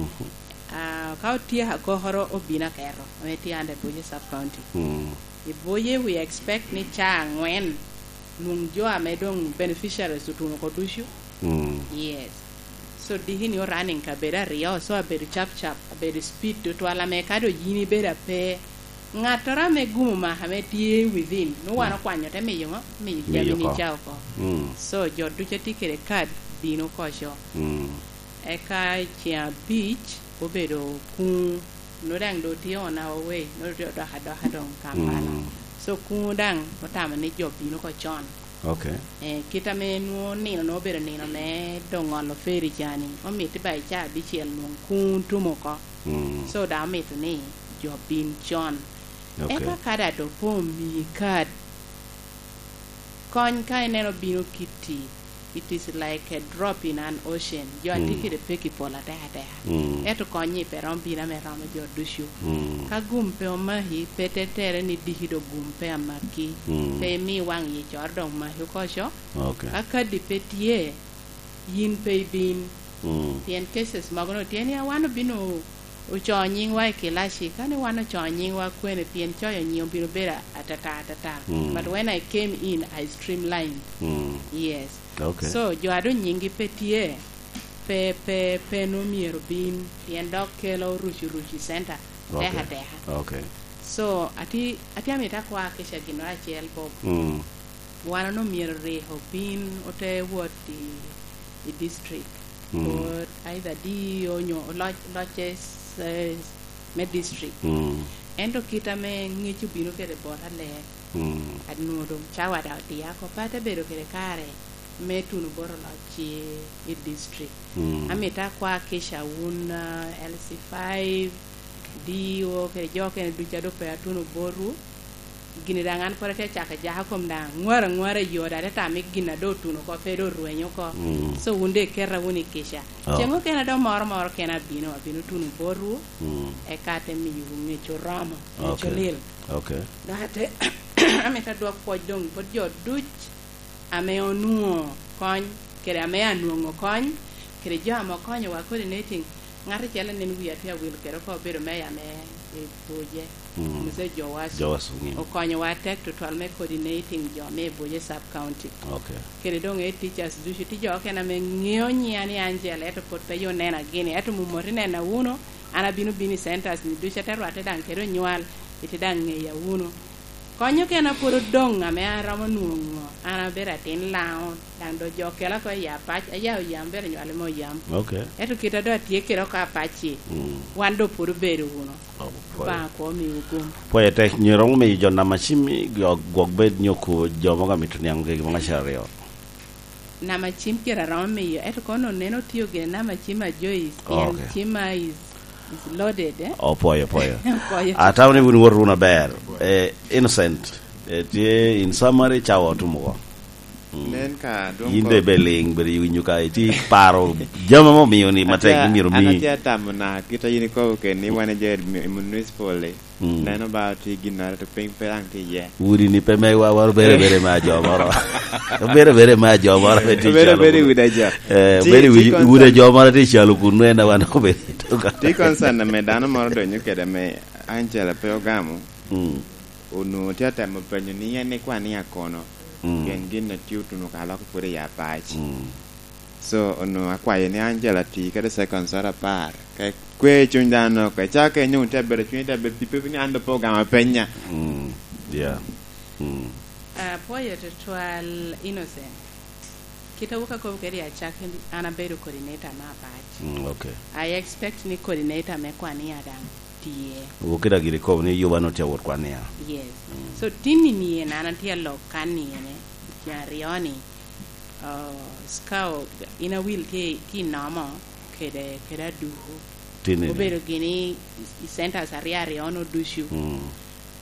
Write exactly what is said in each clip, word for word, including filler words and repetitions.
Mhm. Ah, ka otyeko agokoro, obino aketo, ame tye under Buye Sub County. Mm. I Buye, we expect ni caa angwen, nwoŋo jo ame doŋ beneficiaries otuno oko ducu. Mm. Yes. So, diki ni o running kabedo aryo, so abedo cap cap, abedo speed tutwal, ame ka doŋ yin ibedo ape, ŋattoro ame gumo maka ame tye within, nwoŋo wan okwanyo te miyo ŋo? Miyo jami ni ca oko. Mm. So, jo ducu a tye kede kad bino koco. Mm. Eka i ceŋ abic obedo kuŋ, nwoŋo daŋ doŋ tye on our way, nwoŋo tye odok adoka doŋ Kampala. Mm. So, kuŋ daŋ otamo ni jo bino oko con. Ok. Eh, kit ame nwoŋo nino nwoŋo obedo nino me doŋ ŋolo feri ca ni, omito ba i caa abicel nwoŋo kuŋ otum oko. Mm. So, daŋ omito ni jo bin con. Ok. Eka ka daŋ doŋ pe omii kad, kony ka ineno bino kitti, it is like a drop in an ocean. Jo a tye kede peki pol atek ateka. Mm. Ento kony-nyi pe romo bino ame romo jo ducu. Mm. Ka gum pe omaki, pe tetere ni diki doŋ gum pe amaki. Mm. Pe imi waŋ yi coro doŋ maki oko co. Ok. Ka kadi pe tye, yin pe ibin. Mm. Pien cases mogo no tye ni, "A, wan obino oco nyiŋwa i kilaci." Ka ni wan oco nyiŋwa kwene? Pien coyo nyiŋ obino bedo atata atata. Mm. But when I came in, I streamlined. Mm. Yes. Ok. So, jo a doŋ nyiŋgi pe tye, pe, pe, pe nwoŋo myero bin, pien dok kelo rucu rucu i center. Ok. Ateka ateka. Ok. So, ati-, ati amito akwa kica ginnoro acel, Bob. Mm. Wan onwoŋo myero rik obin ote wot i, i district. Mm. Wot either D E O nyo loc-, locce, eh, me district. Mm. Ento kit ame ŋec obino kede bota ler, mm, anwoŋo doŋ cawa daŋ odia oko, pe ate bedo kede kare me tuno bot oloc i, i district. Mm. Amito akwa kica wun, ah, L C five, D E O, kede jo okene ducu a doŋ pe atuno botwu. Gini daŋ an pwod atye acako ajaka kom daŋ, aŋwar aŋwara i yo, daŋ te tam i gin a doŋ otuno oko, pe doŋ orwenyo oko. Mm. So, wun doŋ iketa wunu i kica. Oh. Ceŋ okene a doŋ moro moro kene abino, abino tuno botwu, mm, eka ate miyowu ŋec oromo, ŋec, ok, olil. Ok. Dok ate, amito adwok pwoc doŋ bot jo duc ame onwoŋo kony, kede ame anwoŋo kony, kede jo ame okonyowa coordinating. Ŋat acel anen wiya tye awil kede oko, obedo meya me i Buje, mm, Mzee Joas. Joas Ong'im. Okonyowa atek tutwal me coordinating jo me i Buje Sub County. Ok. Kede doŋ e teachers ducu, tye jo okene ame ŋeo nyiŋa ni Angela, ento pwod pe yo nena gini, ento mumoti nena wunu, an abino bino i centers ni ducu, ate rwatte daŋ kede onywal, ite daŋ ŋeya wunu. Kony okene a pwod odoŋ ame an aromo nwoŋo, an abedo atin Laŋo, daŋ doŋ jo okela oko i Apac, aya oyam, bedo nywalo me oyam. Ok. Ento kit a doŋ atye kede oko Apac-ci, mm, wan doŋ pwod obedo wunu. Oh, pwoyo. Obaŋa kwo omiwu gum. Pwoyo tek, nyo romo miyo jo Namacim i gwo-, gwok bed nyo ko jo mogo amito niaŋ gigi mogo acel aryo? Namacim kite aromo miyo, ento kono neno tiyo gire Namacim a Joyce, pien, ok, Cima is, is loaded, eh? Opwoyo, opwoyo. Opwoyo. Atamo ni wun woto wunu aber. Eh, Innocent, eh, tye in summary, cawa otum oko. Mm. Nen ka dwong. Yin ko- de be liŋ, bedo i winyo ka, iti paro jami mo miyo ni matek. Atye, ni myero an mi. Atye atamo na, kit a yin ikobo keni, wan e jo i municipal-li. Mm. Neno ba tye ginnoro, to piny pe daŋ tye iye. Udi ni pe megwa, wan obere bere me ajo moro. Obere bere me ajo moro, pe tye. Obere calo bere kun. Udi ajo. Eh, tye, obere tye udi, concern. Udi ajo moro tye calo kun, en a wan obere i toka. Tye concern ame dano moro donyo kede ame Angela pe ogamo. Mm. Onwoŋo tye atemo penyo ni en ikwan ni akono. Mm. Pien gin a tye otuno ka lok pwod i Apac. Mm. So, onwoŋo akwayo ni Angela ti kede seconds oro apar. Ka kwe cuny dano, ka icako kenyo, wun tye abedo cuny, tye abedo pipe ni an doŋ pe ogamo apenya. Mm, yeah. Mm. Apwoyo tutwal, Innocent. Kit a wok akobo kede i acakki, an abedo coordinator me Apac. Mm, ok. I expect ni coordinator me Kwania daŋ tye. Wok kede giri kobo ni Yuba nwoŋo tye awot Kwania. Yes. Mm. So, tinni ni en an atye alok kan ni ene, i ceng aryo ni, Oh, Scout, in awil tye, tye i Nomo kede, kede Aduku. Tinni ni. Obedo gini i, i centers aryo aryo no ducu. Mm.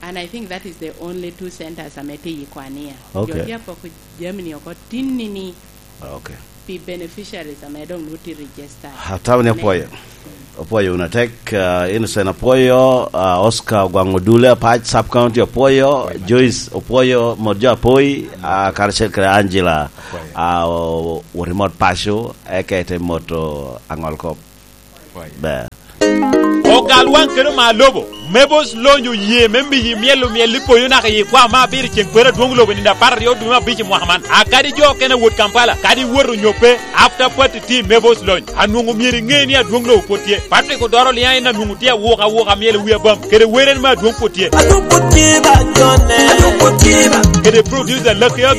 And I think that is the only two centers ame tye i Kwania. Ok. Jo tye apoko jami ni oko tinni ni. Ok. Pi beneficiaries ame doŋ nwoŋo tye registered. Atamo ni apwoyo. Apwoyo wunu atek, ah, Innocent apwoyo, ah, Oscar Ogwaŋ Odule Apac Sub County apwoyo, apwoyo Joyce apwoyo, mot jo apoi, ah, karacel kede Angela, apwoyo. Ah, o-, wot imot paco, eka ite moto aŋol kop. Ber. Ogal waŋ kede oma lobo. Mebos Lony oye me miyi myel omyel i poyo naka i kwa ma abiro ceŋ kwero adwoŋ lobo i nino apar aryo dwe me abic i mwaka man. Akadi jo okene wot Kampala, kadi iwot onyo pe, after party tye i Mebos Lony. Anwoŋo myero iŋe ni adwoŋ lobo pwod tye. Patrick Odoro Liaŋ en anwoŋo tye awuka awuka myel i wi abam, kede wer en me adwoŋ pwod tye. Adwoŋ pwod tye ba jone. Adwoŋ pwod tye ba. Kede producer Lucky Aga